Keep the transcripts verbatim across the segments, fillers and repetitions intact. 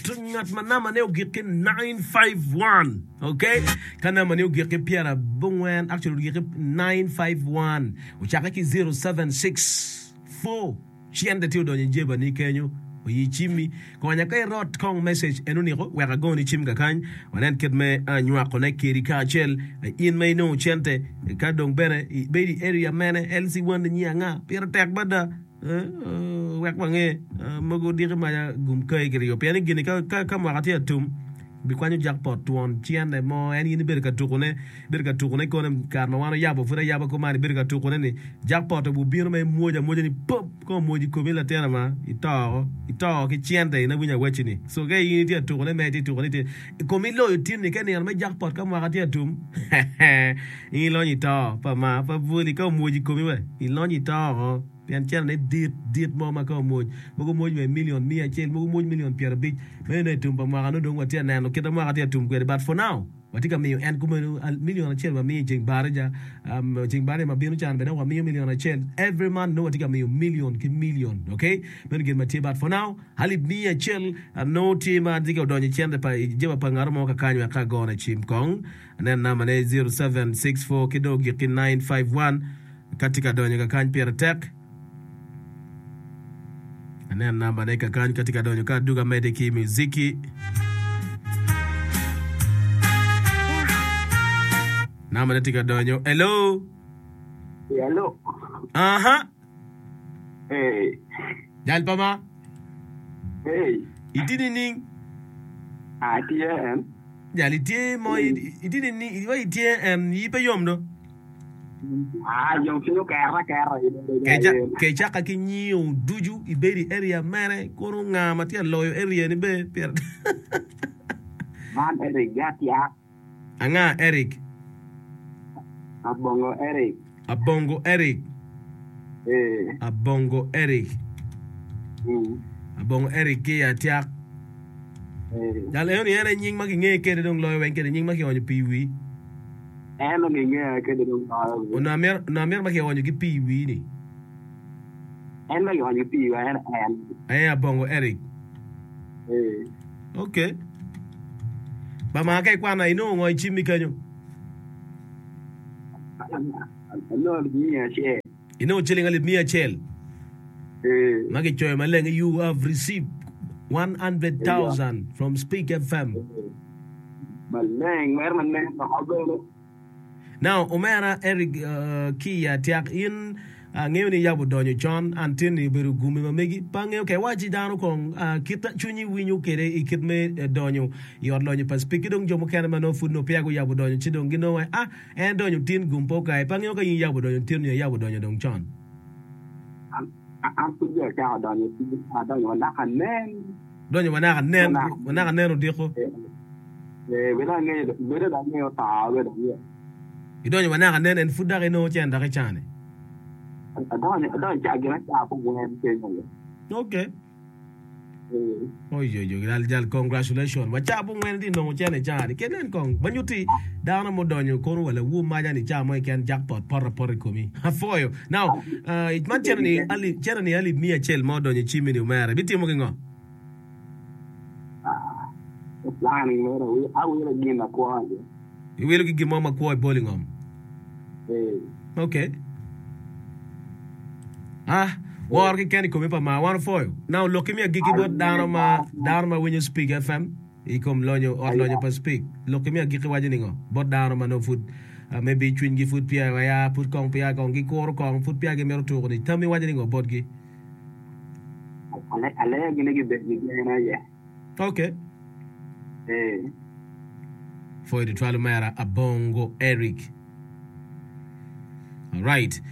Bot ngat ma namba ne ogik ki nine five one. Okay? Ka namba ne ogik ki pyera abongwen, actually ogik ki nine five one, ocakke ki zero seven six four. Cente tye odonyo i jeba ni kenyo, oyi cimmi. Konya ka irot kong message eno niko wek agoni cim kakany. Wanen kit me nywako ne kedi kacel. In ma inongo cente ka dong bene ibedo i area mene, L C one ni nyi anga? Pire tek mada. Wek wange mogo diki maca gum kai kiryo pien ni gini ka mwaka tye atum bikwanyo jackpot twon cente mo en in ibedo ka tukune ibedo ka tukune kone kare ma wan oyabo pud ayaba kuman ibedo ka tukune ni jackpot obino ma imwoco amwoca ni pop ka omwoco i komi latin ma ito ito ki cente in awinyo awacci ni so ka in itye atukune mere itye tukune itye komi loyo tinni ka nino me jackpot ka mwaka tye atum in ilonyo ito pa ma pa bwoli ka omwoco i komi we ilonyo ito oko. Pien cente ne dit, dit mo ma ka omwoc, mogo mwoc wa i million miya acel, mogo mwoc million pyerabic. Meno nongo i tum pa mwaka nongo dong watye ka neno kit ma mwaka tye ka tum kwede. But for now, watye ka miyo en kumeno million acel wamiyo i ceng barija, um, ceng barija ma bino can bene wamiyo million acel. Every month nongo watye ka miyo million ki million. Okay? Meno gin ma tye. But for now, alip miya acel nongo tye ma tye ka odonyo i cente pa, i jeba pa ngat mo kakany wek ka agone cim kong. Anen namba ne zero seven six four ki dong ogik ki nine five one. Ka tye ka donyo kakany pire tek. Anen namba ne kakany ka tye ka donyo ka aduga mede ki muziki. Namba ne tye ka donyo. Hello. Hello. Aha. Hey. Jal pa ma. Hey. Itye nining? Atye en. Jal itye mo itye nining? Wa itye en yi pe yom do. Kecaka ki nyio ducu ibedo i area mene kono nga ma tye ka loyo area ni be pire Man Eric Gatyak. Anga Eric? Abongo Eric. Abongo Eric. Ee. Abongo Eric. Mm. Abongo Eric ki Atyak. Ee. Jal eno ni en aye nying ma kinge kede dong loyo weng kede nying ma kionyo pii i wii. En onongo ingeya kede dong loyo wi. Onongo amito, onongo amito ma kionyo ki pii i wii ni. En ma kionyo ki pii i wiya en en. Aye Abongo Eric. Ee. Ok. Ba maa ka ikwana inongo ngo i cimmi kenyo? Anongo alip miya acel. Inongo ciling alip miya acel. Ee. Ma kicoyo maleng ni you have received one hundred thousand from Speak F M. Maleng mere ma nen loko bene. Now omera Eric ki i Atyak in angeyo ni yabo donyo con and tin-ni obedo gumi ma megi pe angeyo ka iwaci dano kong kit cwinyi winyo kede i kit me donyo i ot lonyo pa Speak ki dong jo mukene ma nongo pud nongo peya guyabo donyo ci dong ginongo ah en donyo tin gum pe okaye pe angeyo ka in iyabo donyo tin nyo iyabo donyo dong con. An pud dong acako donyo tin adonyo wa naka nen. Donyo wa naka nen wa naka nen odiko. Ee, bedo angeyo, bedo dong angeyo to, bedo angeyo. Idonyo wa naka nen en pud dok inongo cen dok icane. Adonyo, adonyo ca gin aca abongwen kenyo aye. Okay. Ee. Oyoyo jal jal congratulation wa ca abongwen itye nongo cen icani ke nen kong ma nyuti dano mudonyo kono wa lawu maca ni ca mo keken jackpot poto apota i komi apwoyo now uh, man cene ni alip cene ni alip miya acel ma odonyo i cimmi ni omera ibitimo ki ngo? Planning mere awilo gin makwo aye. Iwilo ki gin mo makwo ibolo i ngom? Ee. Ok. Ah, woro keken i komi pa mar. Wan opwoyo. Now lokki me agikki bot dano ma dano ma winyo Speak F M i kom lonyo ot lonyo pa Speak. Lokki me agikki waco ningo bot dano ma nongo pud uh, maybe cwinygi pud peya aya, pud kong peya kong gikuro kong, pud peya gimito tuko ni. Tammi waco ningo botgi? Alegi ni gibed ki gen aye. Ok. Ee. Pwoyo tutwal omera Abongo Eric. Alright.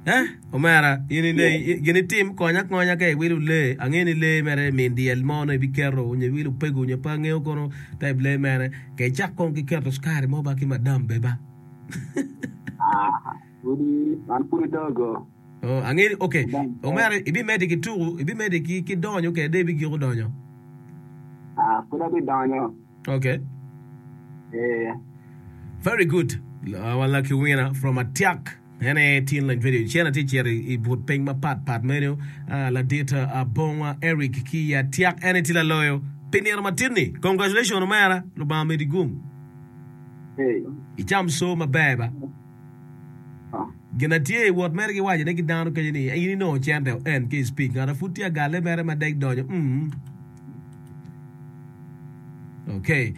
Eh, omera, in ine, gin itim, konya akonya ka iwilo lee. Angeyo ni lee mere min dyel mo nongo ibiketo, nyo iwilo opego, nyo pe angeyo kono type lee mene. Ka icak kong ki keto cukari mo ba ki madam be ba. Ah, pudi, an pud adogo. Oh, angeyo ni, ok. Omera, ibimedde ki tuku, ibimedde ki, ki donyo kede dong ibigiko donyo? Ah, pud abidonyo. Ok. Eh. Very good. Our lucky winner from Atiak. En aye tin lony video. Cen atye cito i but piny mapat pat meno. Uh, ladit uh, Abongwa Eric ki i Atiak. En aye tye laloyo. Pi nino matin-ni, congratulations omera, Lubanga omedi gum. Ee. Icam co maber ba. Ah. Gin atye i wot mere giwaco ne ki dano kenyo ni in inongo cente o en ki i speak ngat a pud tye agalle mere ma dek donyo mm. Okay.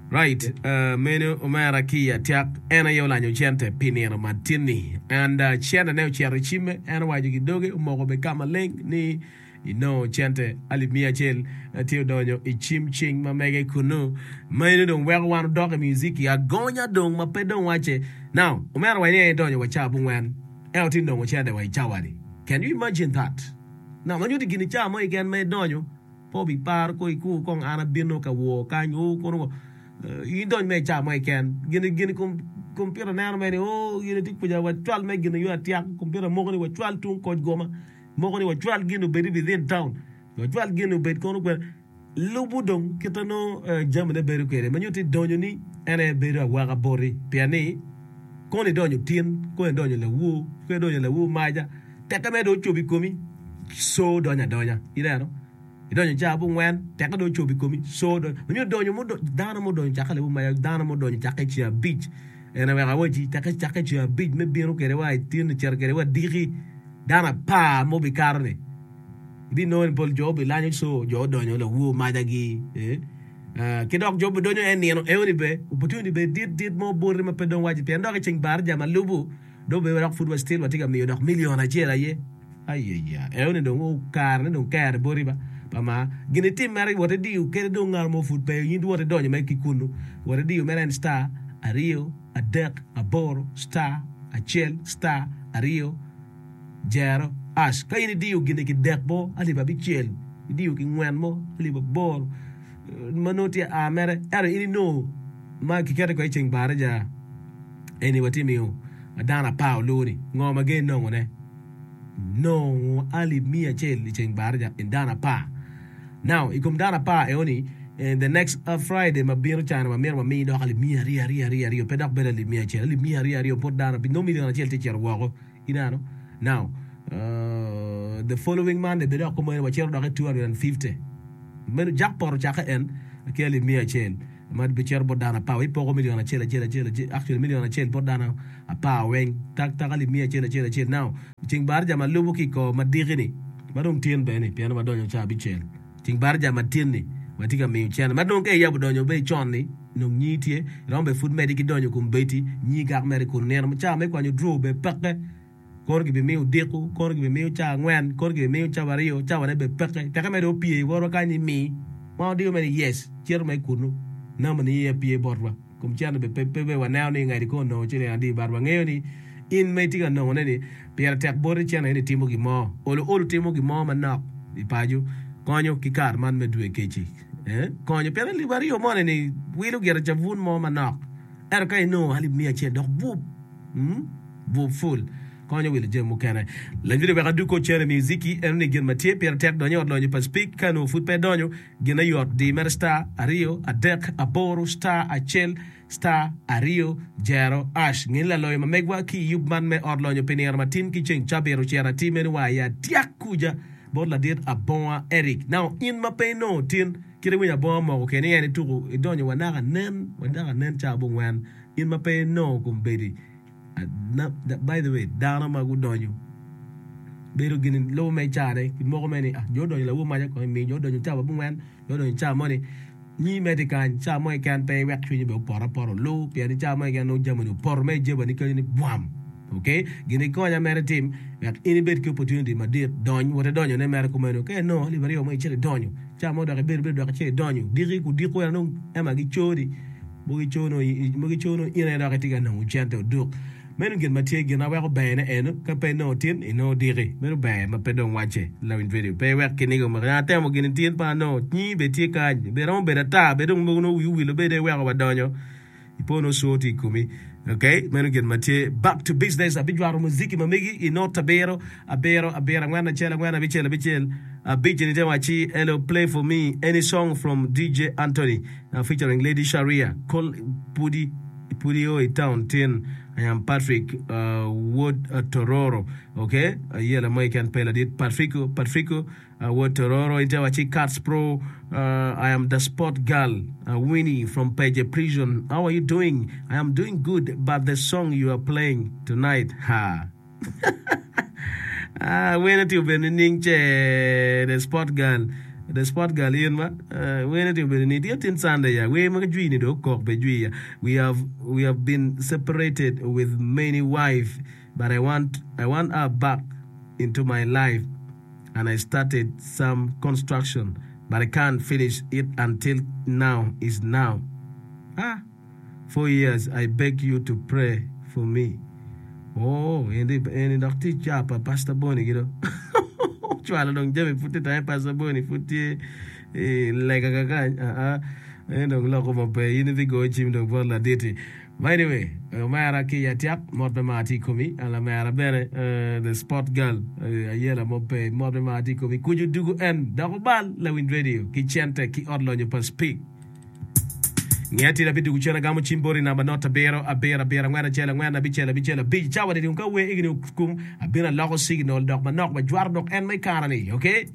Right, uh, meno omera ki i atyak en aye olanyo cente pi nino matin-ni and uh, cente ne ocito i cimme en owaco ki doge omoko be ka maleng ni Inongo cente alip miya acel tye odonyo i cim cing ma mege kunnu. Meno dong weko wan odok i muziki agonya dong ma pe dong wacce. Now, omera wa ni en idonyo wa cawa abongwen, ento tye nongo cente wa i cawa-ni. Can you imagine that? Now, ma nyuto gin i cawa mo keken ma idonyo, pe obiparo ko ikur kong an abino ka wor kany, oo kono ko. In idony me i cawa mo keken, gin gin kompiuta neno mere ni oo gin tye kuca wacwal me gin yo atyak, kompiuta moko ni wacwal tung koc goma. Moko ni wacwal gin obed within town, wacwal gin obed kono kwene. Lubo dong kite nongo jamine bedo kwede ma nyuto ni donyo ni en aye bedo awaka boti pien ni kono idonyo tin, kono idonyo lawur, kono idonyo lawur maca teke mere dong ocobo i komi co donyo adonya ineno idonyo ca abongwen teke dong ocobo i komi co donyo ma nyuto donyo mo dano mudonyo cake lawur maca dano mudonyo cake ceng abic en aye wek awaci teke cake ceng abic me bino kwede wa i tin cito kwede wa diki. Dano apar ma obikato-ni, ibinongo ni pol jo obilanyo co, jo odonyo lawur macagi, ki dok jo obidonyo en nino eoni be, opportunity be dit dit mo boti ma pe dong waci pien dok i ceng baraja ma lubo dong obedo dok pud wa still watye ka miyo dok million acel aye. Ayaya, eoni dong kare ne dong kere boti ba pa ma gin itim mere wot idiyo kede dong ngat mo pud pe in wot idonyo mere ki kunu wot idiyo mere en star aryo adek aboro star acel star aryo jero ash. Ka in idiyo gin-ni ki dek mo alip abicel, idiyo ki ngwen mo alip aboro ma nongo tye a mere, ento in inongo ma kiketo kwede i ceng baraja eni watye miyo dano apar olu-ni, ngo ma gen nongone? Nongo alip miya acel i ceng baraja i dano apar. Now, i kom dano apar eoni, the next Friday ma bino cani wamito wami dok alip miya aryo aryo aryo aryo, pe dok bedo alip miya acel, alip miya aryo aryo bot dano abic, nongo million acel tye cito woko. Ineno? Now, uh, the following Monday bene dok kumeno wacito dok i two hundred and fifty. Meno jackpot ocakke en ki alip miya acel ma bicito bot dano apar. Wipoko million acel acel acel acel, actually million acel bot dano apar weng, tak tak alip miya acel acel acel. Now, ceng baraja ma lubo ki i kor ma diki-ni, ma dong tin bene-ni, pien wadonyo ca abicel, ceng baraja ma tin-ni watye ka miyo cene ma dong ka iyabo donyo be con-ni, nong nyingi tye, iromo bene pud medi ki donyo kom bedi, nyingi gak mere kun nino ca me kwanyo draw bene peke, kono gibimiyo odiko, kono gibimiyo ca angwen, kono gibimiyo cawa aryo, cawane bene peke, teke mere opye i wotwa kany ni mi, ma odiyo mere ni yes, cito mere kunu, namba ni iye pye botwa, kom cente bene pe pe bene waneno ni ngadi kong onongo ciling adi but wangeyo ni in ma itye ka nongone ni pire tek boti cente ni timo gin mo, olo olo timo gin mo manok i paco konyo ki kare man me dwe keci. Konyo pien alip aryo moni ni wilo gire cabun mo manok ento ka inongo alip miya acel dok bup bup ful konyo wilo jami mukene. Lanyut wek adug cene muziki eno ni gin ma tye pire tek donyo i ot lonyo pa Speke ka nongo pud pe idonyo gine yot di mere star aryo adek aboro star acel star aryo jero ash nge ni laloyo ma megwa ki i yub man me ot lonyo pi nino matin ki ceng cabit ocito atir meno wa i atyak kuca bot ladit Abonga Eric. Now in ma pe inongo tin kit iwinyo Abonga moko keni en ituku idonyo wa naka nen wa naka nen ca abongwen in ma pe inongo kombedi by the way dano ma gudonyo bedo gin lubo me cane moko me ni ah jo odonyo lawor maca kong imi jo odonyo cawa abongwen jo odonyo cawa moni nyi medi kany cawa mo keken pe iwek cwinyi bene opot apota olu pien cawa mo keken nongo jami ni opoto me ijeba ni kenyo ni bwam. Ok, gin ikonya mere itim wek in ibed ki opportunity madit, dony, wot idonyo ne mere kumeno, ka inongo alip aryo mo icito idonyo, ca mo dok ibedo bedo dok icito idonyo, diki kudiko eno dong ema giconi, mogo ico nongo mogo ico nongo in aye dok itye ka nongo cente oduk. Meno gin ma tye, gin ma weko ber ne eno, ka pe inongo tin, inongo diki, meno ber ma pe dong wacce, lawiny radio, pe iwek kiniga omaki, an atemo gini tin pe anongo, nyingi bene tye kany, bene romo bedo ata, bene dong mogo nongo wii owilo bene iweko wadonyo. Ipo nongo coo tye i komi. Ok, meno gin ma tye. Back to business, abijwato muziki ma megi i not abiro, abiro, abiro, angwen, acel, angwen, abicel, abicel, abic. Ni te wacci, Hello, play for me any song from D J Anthony uh, featuring Lady Sharia. Call pudi Pud io i town tin. I am Patrick uh, Wod uh, Tororo. Okay, ayela mo keken pe ladit Patrico, Patrico uh, Wod Tororo. Inte waci Cats Pro. Uh, I am the sport girl, uh, Winnie from Page Prison. How are you doing? I am doing good, but the song you are playing tonight, ha. Ah, wene ti obedo nining ce the sport girl the sport girl in ma uh, wene ti obedo ni tye tin Sunday ya wer ma jwi ni do kok be jwi ya we have we have been separated with many wife but I want I want her back into my life and I started some construction but I can't finish it until now is now ah four years I beg you to pray for me oh eni eni dok tye ca pa Pastor Boni gido cwalo dong jami pud tye tange Pastor Boni pud tye i lega kakany aa en dong loko maber in ibigoyo cim dong bot laditi but anyway omera ki atyak mot me mar tye i komi lamera bene uh, the sport girl uh, ayela mo pe mot me mar tye i komi kucu dugu en dok obal lawiny radio ki cente ki ot lonyo pa speak Nge tira bidugu cen agamo cim boti namba not abiro abiro abiro angwen acel angwen abicel abicel abic cawa ni dong ka wer egini okum abino aloko signal dok manok wajwaro dok en ma i kara ni okay.